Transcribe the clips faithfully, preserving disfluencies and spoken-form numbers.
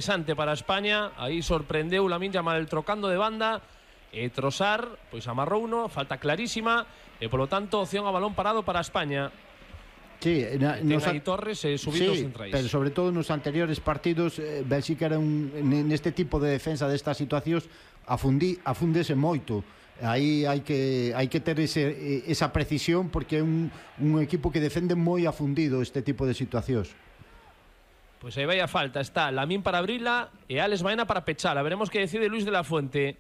Interesante para España, aí sorprendeu Lamine Yamal trocando de banda e Trossard, pois amarrou uno, falta clarísima e polo tanto opción a balón parado para España. Sí, na, ten nos, aí Torres e subindo sí, os centrais. Pero sobre todo nos anteriores partidos eh, Bélxica era un, neste tipo de defensa destas situacións afundi, afúndese moito. Aí hai que hai que ter ese, esa precisión porque é un, un equipo que defende moi afundido este tipo de situacións. Pois aí vai a falta, está Lamine para abrila e Alex Baena para pechala. Veremos que decide Luis de la Fuente.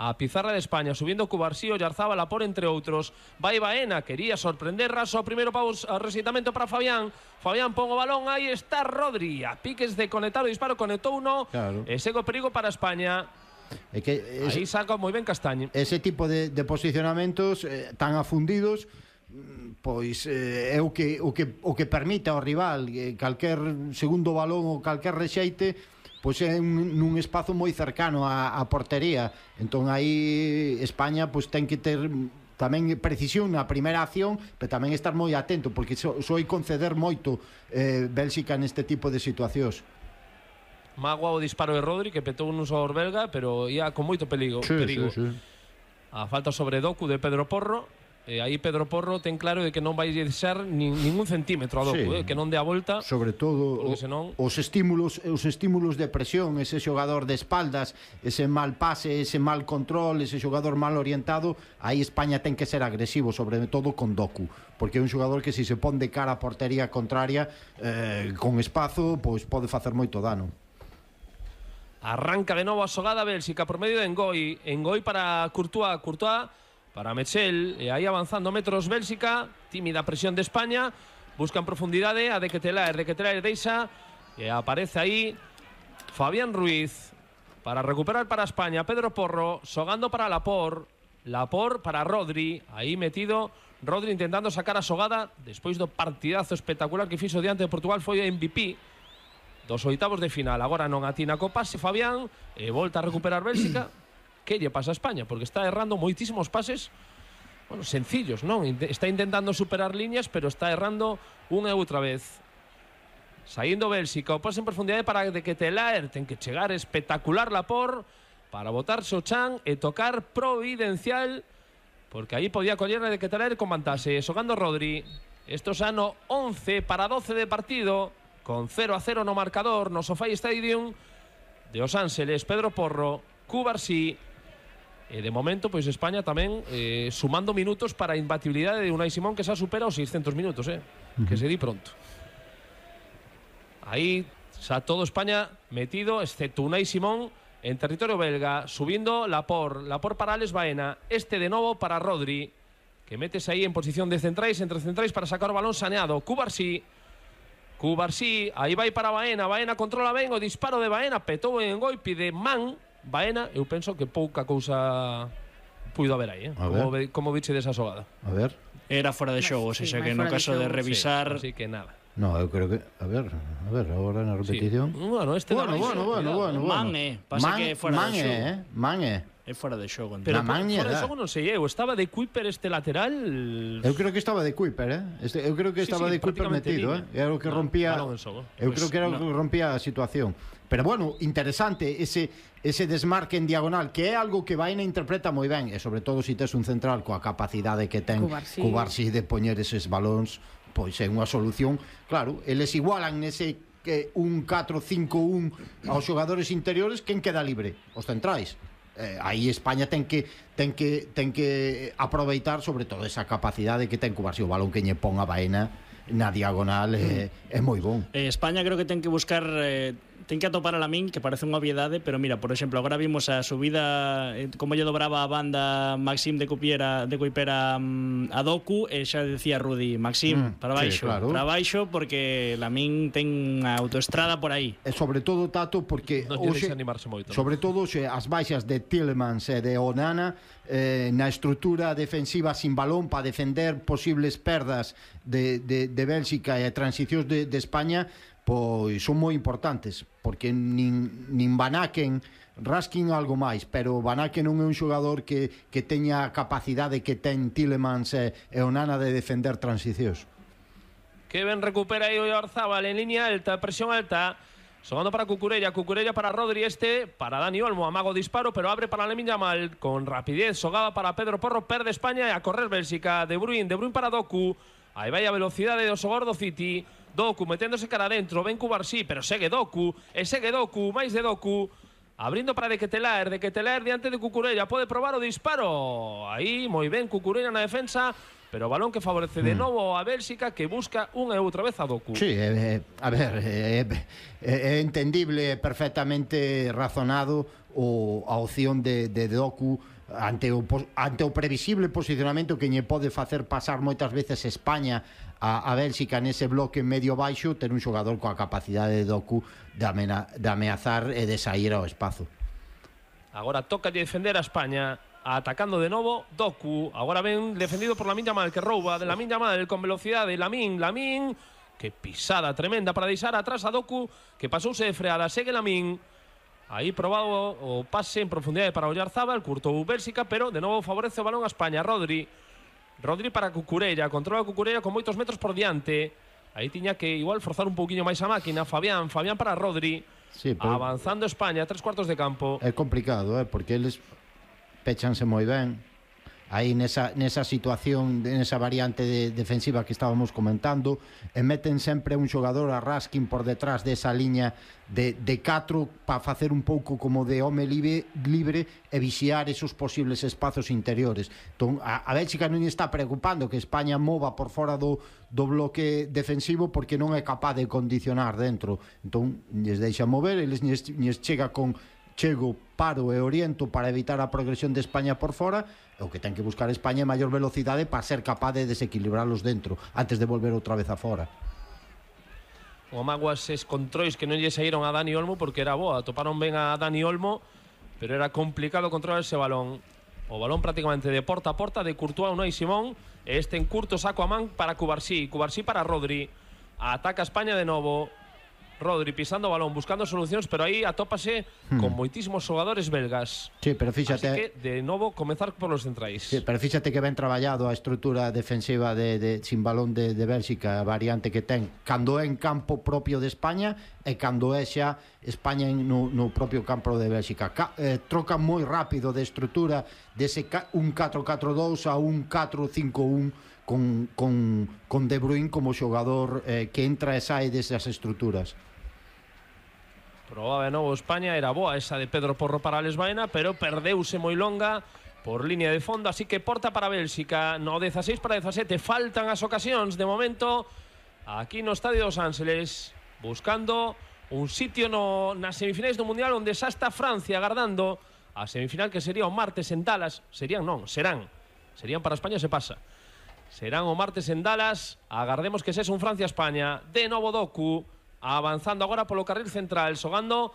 A pizarra de España, subindo Cubarsí, Oyarzabal, Lapor, entre outros. Vai Baena, quería sorprender Raso, primeiro paus, resitamento para Fabián. Fabián pon o balón, aí está Rodri. A piques de conectar o disparo, conectou uno. Claro. E segue o perigo para España. É que ese, aí saca moi ben Castaño. Ese tipo de, de posicionamentos eh, tan afundidos, pois eh, é o que, o, que, o que permite ao rival eh, calquer segundo balón ou calquer rexeite, pois é un, nun espazo moi cercano á, á portería. Entón aí España pois ten que ter tamén precisión na primeira acción, pero tamén estar moi atento, porque so, soe conceder moito eh, Bélxica neste tipo de situacións. Magua o disparo de Rodri, que petou un usador belga, pero ia con moito perigo, sí, perigo. Sí, sí. A falta sobre Doku de Pedro Porro. E aí Pedro Porro ten claro de que non vai deixar nin, ningún centímetro a Doku, sí. eh, que non dé a volta. Sobre todo o, senón... os estímulos os estímulos de presión, ese xogador de espaldas, ese mal pase, ese mal control, ese xogador mal orientado, aí España ten que ser agresivo, sobre todo con Doku, porque é un xogador que se se pon de cara a portería contraria eh, con espazo, pois pode facer moito dano. Arranca de novo a xogada Bélxica por medio de Ngoi. Ngoi para Courtois, Courtois para Mechel, e aí avanzando metros Bélxica, tímida presión de España, buscan profundidade a De Ketelaer, De Ketelaer deixa e aparece aí Fabián Ruiz para recuperar para España. Pedro Porro xogando para Lapor, Lapor para Rodri, aí metido Rodri intentando sacar a xogada despois do partidazo espectacular que fixo diante de Portugal, foi o M V P dos oitavos de final. Agora non atina co pase Fabián e volta a recuperar Bélxica. Que lle pasa a España? Porque está errando moitísimos pases, bueno, sencillos, non? Está intentando superar líneas, pero está errando unha e outra vez. Saindo Bélxica, o pase en profundidade para De Ketelaer, ten que chegar espectacular Lapor para botarse o chan e tocar providencial, porque aí podía coller a De Ketelaer con vantase. Xogando Rodri, esto xa no once para doce de partido, con cero a cero no marcador no SoFi Stadium de Los Ángeles. Pedro Porro, Cubarsí, e de momento pois España tamén eh, sumando minutos para a imbatibilidade de Unai Simón, que xa supera os seiscentos minutos, eh? Uh-huh. Que se di pronto. Aí xa todo España metido, excepto Unai Simón en territorio belga, subindo Lapor, Lapor para Alex Baena, este de novo para Rodri, que metes aí en posición de centrais, entre centrais para sacar o balón saneado. Cubarsí, Cubarsí, aí vai para Baena, Baena controla ben o disparo de Baena, petou en Ngoi, pide man Baena, eu penso que pouca cousa puido haber aí, eh? Como, como viche desa xogada. A ver. Era fora de xogo, sí, xa que no caso de, de revisar, sí, así que nada. No, eu creo que, a ver, a ver, agora na repetición. Sí. Bueno, este bueno, bueno, bueno, bueno, bueno. Man, eh, pasa man, que fora man de xogo. Eh, man, eh. É fora de xogo. Pero por, fora de xogo non sei, eu estaba de Kuiper este lateral. Eu creo que estaba de Kuiper, eh. Este, eu creo que estaba sí, sí, de Kuiper metido, eh. Era o que rompía. No, eu pues, creo que era o no. que rompía a situación. Pero bueno, interesante ese ese desmarque en diagonal, que é algo que Baena interpreta moi ben, e sobre todo se si tes un central coa capacidade que ten Cubarsí, Cubarsí de poñer eses balóns, pois é unha solución. Claro, eles igualan nese que un catro cinco un aos xogadores interiores, quen queda libre? Os centrais. Eh, aí España ten que ten que ten que aproveitar sobre todo esa capacidade que ten Cubarsí, o balón que lle pon a Baena na diagonal é, é moi bon. Eh, España creo que ten que buscar eh, ten que atopar a Lamine, que parece unha obviedade, pero mira, por exemplo, agora vimos a subida eh, como lle dobraba a banda Maxim de Copiera, de Coipera um, a Doku, e xa decía Rudi, Maxim, mm, para baixo, sí, claro. para baixo, porque Lamine ten a autoestrada por aí. E sobre todo, Tato, porque non hoxe, animarse moito, sobre non? todo xe, as baixas de Tielemans e de Onana eh, na estrutura defensiva sin balón para defender posibles perdas de, de, de Bélxica e transicións de, de España, pois son moi importantes, porque nin, nin Van Aken, Raskin algo máis, pero Van Aken non é un xogador que, que teña a capacidade que ten Tielemans e, e Onana de defender transicións. Que ben recupera aí o Oyarzabal en línea alta, presión alta, Xogando para Cucurella, Cucurella para Rodri, este para Dani Olmo, amago disparo, pero abre para Lamine Yamal, con rapidez, xogaba para Pedro Porro, perde España e a correr Bélxica, De Bruyne, De Bruyne para Doku, aí vai a velocidade do xogador do City, Doku meténdose cara adentro, ven Cubarsí, pero segue Doku, e segue Doku, máis de Doku, abrindo para De Ketelaer, De Ketelaer diante de Cucurella, pode probar o disparo, aí moi ben Cucurella na defensa, pero balón que favorece de novo a Bélxica, que busca unha e outra vez a Doku. Sí, eh, a ver, é eh, eh, entendible, perfectamente razonado o, a opción de, de Doku ante o, ante o previsible posicionamento que lle pode facer pasar moitas veces España a, a Bélxica nese bloque medio baixo, ter un xogador coa capacidade de Doku de, amena, de ameazar e de sair ao espazo. Agora toca de defender a España, atacando de novo Doku, agora ven defendido por Lamine Yamal, que rouba de Lamine Yamal con velocidade, Lamine, Lamine, que pisada tremenda para deixar atrás a Doku, que pasouse de freada, segue Lamine, aí probado o pase en profundidade para Oyarzábal, curtou Bélxica, pero de novo favorece o balón a España, Rodri, Rodri para Cucurella, controla Cucurella con moitos metros por diante, aí tiña que igual forzar un pouquiño máis a máquina, Fabián, Fabián para Rodri, sí, pero avanzando España, tres cuartos de campo. É complicado, eh, porque eles péchanse moi ben aí nesa, nesa situación, nesa variante de defensiva que estábamos comentando, e meten sempre un xogador a Raskin por detrás desa liña de, de catro para facer un pouco como de home libre, libre e vixiar esos posibles espazos interiores. Entón, a, a Bélxica non está preocupando que España mova por fora do, do bloque defensivo porque non é capaz de condicionar dentro. Entón, lles deixa mover, eles lles, lles chega con chego, paro e oriento para evitar a progresión de España por fora, e o que ten que buscar España é maior velocidade para ser capaz de desequilibrarlos dentro antes de volver outra vez a fora. O Maguas es controis que non lle saíron a Dani Olmo porque era boa, toparon ben a Dani Olmo, pero era complicado controlar ese balón. O balón prácticamente de porta a porta de Courtois, Unai Simón, e este en curto saco a man para Cubarsí, Cubarsí para Rodri, ataca España de novo, Rodri pisando o balón, buscando solucións, pero aí atópase hmm. con moitísimos xogadores belgas. Sí, pero fíxate, así que, de novo, comezar por los centrais. Sí, pero fíxate que ben traballado a estrutura defensiva de, de sin balón de, de Bélxica, a variante que ten, cando é en campo propio de España e cando é xa España no, no propio campo de Bélxica. Ca, eh, troca moi rápido de estrutura dese un catro catro dous a un catro cinco un con, con, con De Bruyne como xogador eh, que entra e sae desas estruturas. Probaba de novo España, era boa esa de Pedro Porro para Alex Baena, pero perdeuse moi longa por línea de fondo, así que porta para Bélxica, no dieciséis para diecisiete, faltan as ocasións de momento aquí no Estadio dos Ángeles, buscando un sitio no, nas semifinais do Mundial onde xa está Francia agardando a semifinal que sería o martes en Dallas, serían non, serán, serían para España se pasa, serán o martes en Dallas, agardemos que sexa un Francia-España, de novo Doku, avanzando agora polo carril central, xogando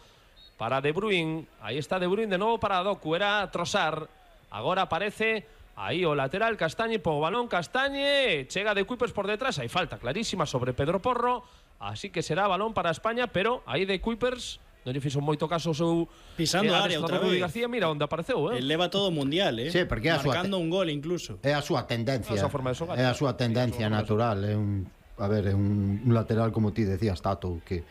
para De Bruyne, aí está De Bruyne de novo para Doku, era Trossard, agora aparece aí o lateral Castañe, po balón Castañe, chega de Kuipers por detrás, hai falta clarísima sobre Pedro Porro, así que será balón para España, pero aí de Kuipers non lle fixo moito caso o seu pisando eh, área outra vez. García, mira onde apareceu, eh. El leva todo o mundial, eh. Sí, porque é a marcando súa un gol incluso. É a súa tendencia. A súa forma de xogar. É a súa tendencia natural, é un a ver, é un, un lateral como ti decías, Tato, que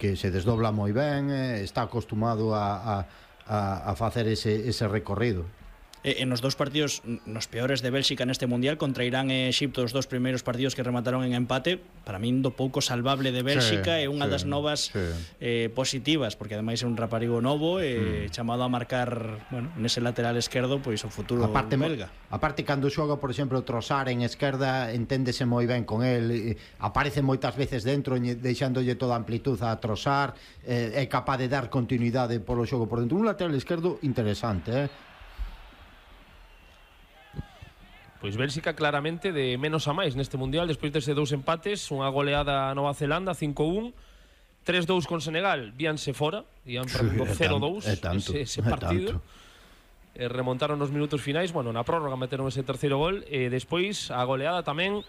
que se desdobla moi ben, eh, está acostumado a, a, a facer ese, ese recorrido. En los dos partidos, nos peores de Bélxica neste Mundial, contra Irán e Egipto, os dos primeiros partidos que remataron en empate, para min do pouco salvable de Bélxica, é sí, unha sí, das novas sí. eh, positivas, porque ademais é un raparigo novo e eh, mm. chamado a marcar, bueno, nese lateral esquerdo, pois o futuro aparte, belga. Aparte, cando xoga, por exemplo, Trossard en esquerda, enténdese moi ben con el, aparece moitas veces dentro, deixándolle toda a amplitud a Trossard, eh, é capaz de dar continuidade polo xogo por dentro. Un lateral esquerdo interesante, eh? Pois Bélxica claramente de menos a máis neste Mundial, despois dese dous empates, unha goleada a Nova Zelanda, cinco un, tres dous con Senegal, víanse fora, ian perdendo cero dous ese, ese partido, e remontaron nos minutos finais, bueno, na prórroga meteron ese terceiro gol, e despois a goleada tamén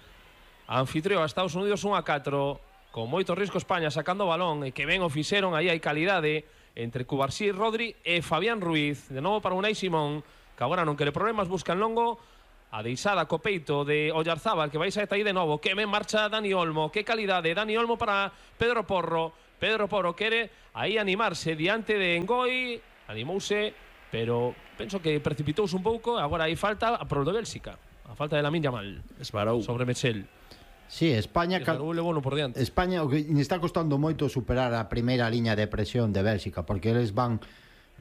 a anfitrión a Estados Unidos un a catro, con moito risco España sacando o balón, e que ben o fixeron, aí hai calidade, entre Cubarsí, Rodri e Fabián Ruiz, de novo para Unai Simón, que agora non quere problemas, buscan longo, a deixada co peito de Oyarzábal, que vai sair aí de novo, que ben marcha Dani Olmo, que calidade, Dani Olmo para Pedro Porro, Pedro Porro quere aí animarse diante de Engoi, animouse, pero penso que precipitouse un pouco, agora aí falta a prol de Bélxica, a falta de Lamine Yamal Esbarou sobre Mechel. Sí, España cal... bueno por diante. España o que está costando moito superar a primeira liña de presión de Bélxica, porque eles van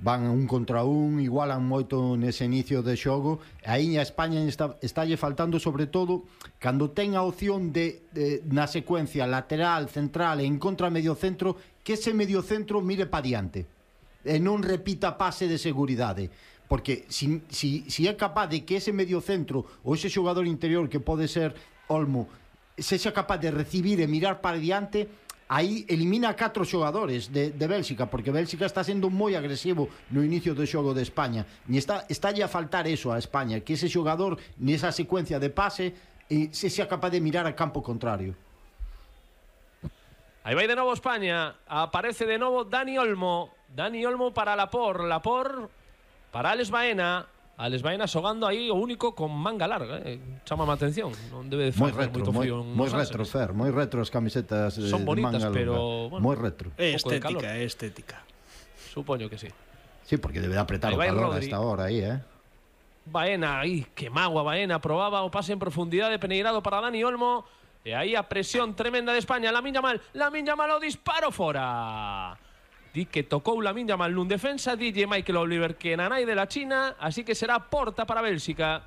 van un contra un, igualan moito nese inicio de xogo, e aí a España está estálle faltando sobre todo cando ten a opción de, de na secuencia lateral, central e en contra medio centro, que ese medio centro mire pa diante e non repita pase de seguridade, porque si, si, si é capaz de que ese medio centro ou ese xogador interior que pode ser Olmo sexa capaz de recibir e mirar para diante, aí elimina a catro xogadores de, de Bélxica, porque Bélxica está sendo moi agresivo no inicio do xogo de España, e está, está a faltar eso a España, que ese xogador nesa secuencia de pase e se sea capaz de mirar a campo contrario. Aí vai de novo España, aparece de novo Dani Olmo, Dani Olmo para Lapor, Lapor para Alex Baena, Alex Baena xogando aí o único con manga larga, eh? Chámame a atención, non debe de facer moito frío. Moi retro, Fer, moi retro as camisetas eh, son bonitas, de manga pero longa. Bueno, moi retro. É estética, é estética. Supoño que sí. Sí, porque debe apretar o calor a esta hora aí, eh. Baena, aí, que magua Baena, probaba o pase en profundidade peneirado para Dani Olmo, e aí a presión tremenda de España, Lamine Yamal, Lamine Yamal o disparo fora. Di que tocou Lamine Yamal nun defensa, D J Michael Oliver que nanai de la China, así que será porta para Bélxica.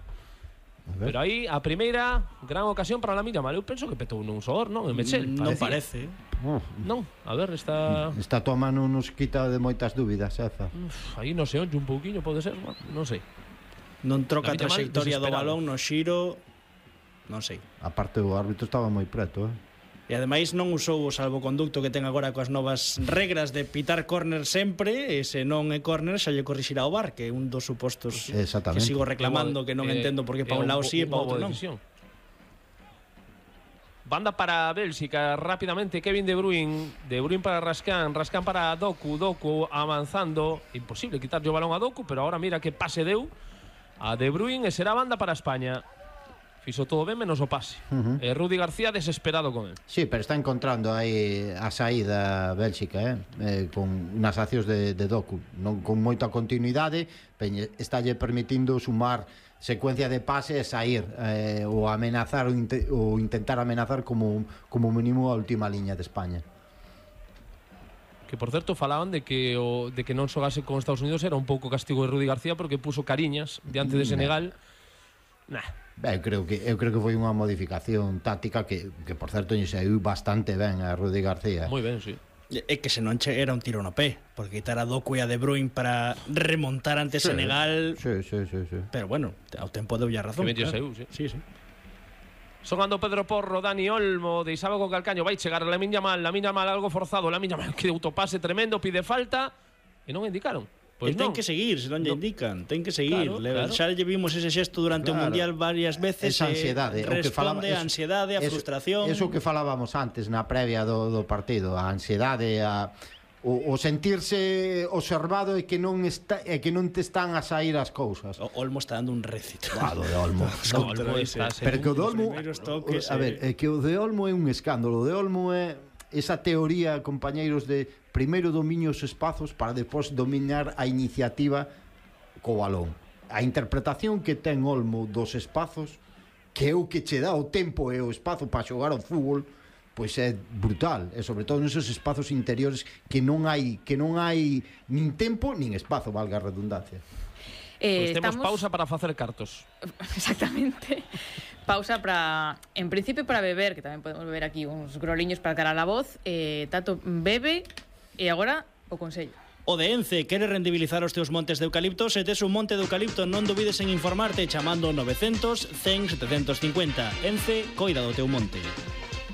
Pero aí a primeira gran ocasión para Lamine Yamal. Eu penso que petou nun sodor, non? En Mechel, non parece. Uh, non, a ver, está... Esta tua mano nos quita de moitas dúbidas, Eza. Uf, aí non se onlle un pouquiño, pode ser, bueno, non sei. Non troca a Lamine Yamal trayectoria do desesperado. balón no xiro, non sei. Aparte o árbitro estaba moi preto, eh. E ademais non usou o salvoconducto que ten agora coas novas regras de pitar córner sempre, e se non é córner xa lle corrixirá o V A R, que é un dos supostos que sigo reclamando, que non eh, entendo porque pa un lado sí e pa outro non. Banda para Bélxica, rápidamente Kevin De Bruyne, De Bruyne para Rascan, Rascan para Doku, Doku avanzando, imposible quitarlle o balón a Doku, pero ahora mira que pase deu a De Bruyne e será banda para España. Fixo todo ben menos o pase. Uh -huh. eh, Rudi García desesperado con él. Sí, pero está encontrando aí a saída Bélxica, eh? eh con unas accións de, de Doku, non con moita continuidade, estálle permitindo sumar secuencia de pase e sair eh, ou amenazar ou, inte, ou intentar amenazar como, como mínimo a última liña de España. Que por certo falaban de que o, de que non xogase con Estados Unidos era un pouco castigo de Rudi García porque puso cariñas diante de Senegal. Nah. Ben, eu creo que eu creo que foi unha modificación táctica que, que por certo lle saiu bastante ben a Rudi García. Moi ben, sí. É que se non che era un tiro no pé, porque quitar a Doku e a De Bruyne para remontar ante sí, Senegal. Sí, sí, sí, sí. Pero bueno, ao tempo deu ya razón. Que ben claro. Saiu, sí. Sí, sí. Xogando Pedro Porro, Dani Olmo, deixaba co calcaño, vai chegar Lamine Yamal, Lamine Yamal algo forzado, Lamine Yamal que autopase tremendo, pide falta e non indicaron. Pois pues ten non. que seguir, se non lle indican, ten que seguir. Claro, Le, claro. Xa lle vimos ese xesto durante claro. o Mundial varias veces. Esa ansiedade, eh, responde a ansiedade, a eso, frustración. Eso que falábamos antes na previa do, do partido, a ansiedade, a o, o sentirse observado e que non está e que non te están a sair as cousas. O Olmo está dando un récito. Ah, do de Olmo. No, Olmo está Pero que o de Olmo, toques, a ver, é que o de Olmo é un escándalo. O de Olmo é esa teoría, compañeiros, de primeiro dominio os espazos para depois dominar a iniciativa co balón. A interpretación que ten Olmo dos espazos, que é o que che dá o tempo e o espazo para xogar ao fútbol, pois é brutal, e sobre todo nesos espazos interiores que non hai que non hai nin tempo nin espazo, valga a redundancia. Pois Eh, temos estamos... pausa para facer cartos. Exactamente. Pausa para, en principio para beber, que tamén podemos beber aquí uns groliños para cara a la voz. Eh, Tato bebe e agora o consello. O de Ence quere rendibilizar os teus montes de eucalipto. Se tes un monte de eucalipto non dubides en informarte chamando novecientos, cen, setecientos cincuenta. Ence, coida do teu monte.